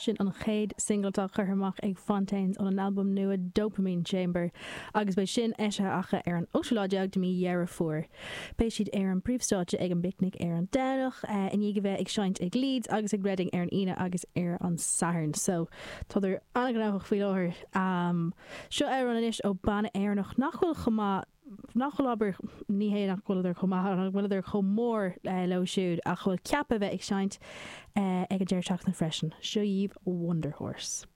Sin an chéad singil atá curtha amach ag Fontaines óna n-albam nua Dopamine Chamber agus beidh sin eisithe acu ar an ochtú lá déag de mhí Dheireadh Fómhair. Beidh siad ar an bpríomhstáitse ag an bPicnic ar an Domhnach, i ndiaidh a bheith ag seinnt ag Leeds agus ag Reading ar an Aoine agus ar an Satharn. So, tádar an-ghnóthach faoi láthair. Seo amhrán anois ó banna Éireannach nach bhfuil chomh maith nach bhfuil, abair, ní hé nach bhfuileadar chomh maith, nach bhfuileadar chomh mór leo siúd ach a bhfuil ceaptha a bheith ag seinnt ag an deireadh seachtaine freisin. Seo dhaoibh Wunderhorse.